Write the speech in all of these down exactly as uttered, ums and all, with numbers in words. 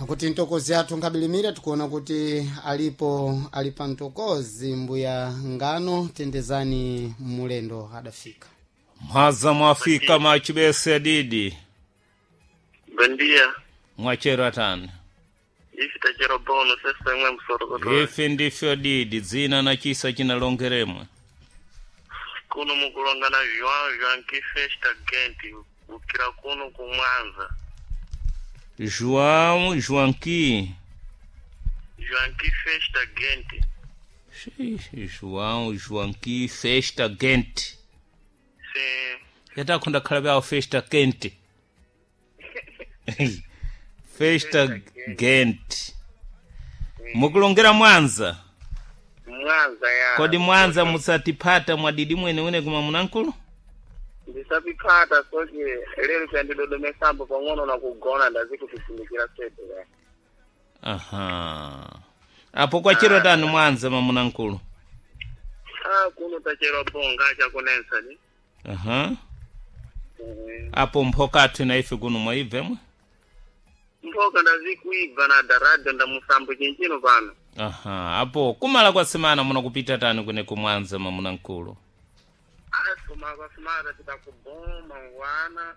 Kuti mtokozi athu nkabilimira, tikuona kuti alipo ali pa mtokozi mbuya ngano. Tendezani mulendo adafika. Mhaza mwafika machibese didi. Bom dia. Mwachero atani? Ife tachero bono sesa imwe msorokoto. Ife ndifyo didi, dzina na chisa chinalongeremwe. Kuno mukulongana João João que festa gente ukira kuno kumwanza. João Joanqui. João que festa gente. Xixi, João Joanqui festa gente. Sim. Yatakhonda khala byawo festa quente. Festa gente. Mukulongera Mwanza. Mwanza ya. Kodi Mwanza musatipata mwadidi mwene wene kuma munankulu? Ndisapipata soke lero chandidodomesambo pang'ono na kugona ndazikutisindikira sete ya. Aha. Apo kwachero tani Mwanza mamunankulu? Ah, kuno tachero bonga chakunensa ni. Aha. Mm. Apo mphokathu na ife kuno mwaibvemwe? Mphoka ndazikuibva na daradio ndamusambo chinchino pano. Aha. Apo kumala kwa semana munakupita tani kune kumwanza mamunankulu? Asuma kwasumata titakuboma mangwana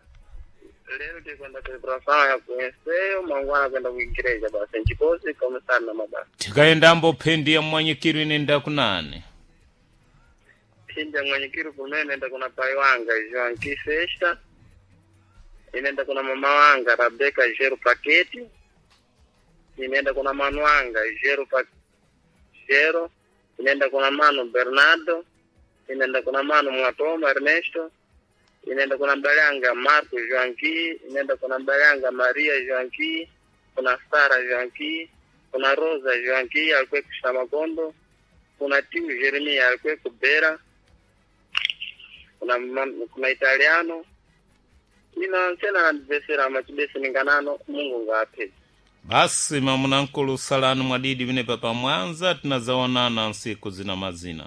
lero tikwenda celebração ya kuenseyo, mangwana kwenda kuigreja basi nchikosi komisana na mabasa. Tikayendambo phendi ya mwanyikiro inenda kunani? Phindi ya mwanyikiro kumene enda kuna pai wanga João Kisesta, inenda kuna mama wanga Rebecca Jero Paketi, inenda kuna manu wanga Jero Pa Jero, inenda kuna mano Bernardo, inenda kuna mano Mwatoma Ernesto, inenda kuna mbalanga Marco Joanqui, inenda kuna mbalanga Maria Joanqui, kuna Sara Joanqui, kuna Rosa Joanqui alikuwa kushamagondo, kuna Tiu Jeremia alikuwa kubera, kuna ma- kuna Italiano ina nsena nandibesera machibesi ninganano Mungu ngape. Basi mamunankulu, salani mwadidi vinepa pa Mwanza, tinazaonana nsiku zina mazina.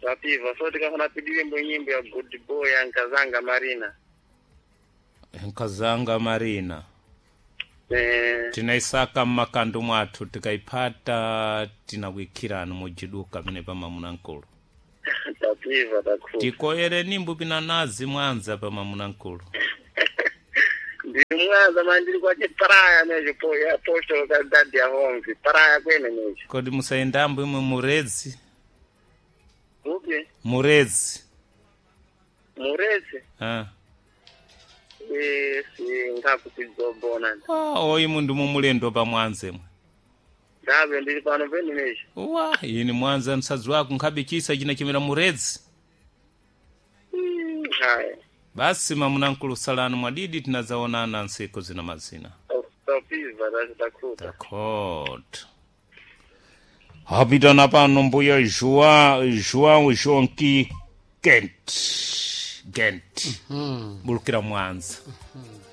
Tapiva so tikafuna pidiwembo nyimbo ya Good Boy ya Nkazanga Marina. Nkazanga Marina. Eh, Tinaisaka mmakandu mwathu, tikaipata tinakuikhirani mujiduka vinepa mamunankulu. Tapiva takhu. Tikoyere nimbu pina nazi Mwanza pa mamunankulu. Ndi Mwanza mandiri kwache paraya necho po ya posto localidade ya Homvi paraya kwene necho. Kodi musayendambo imwe murezi? Upi? Murezi. Murezi. Ah. Eh, si ngakupidzobona. Ah, oyi mundu mumulendo pa Mwanza imwe. Ndabe ndiri pano pene necho. Wa ini Mwanza msadzi wako nkhabe chisa china chimera murezi. Mm, haya. Basi mamunankulu, salani mwadidi, tinazaonana nsiku zina mazina. Tapiva takhuta. Dakota. Hapitana pano mbuya João João Jonqui Kent Gent. Bulukira Mwanza.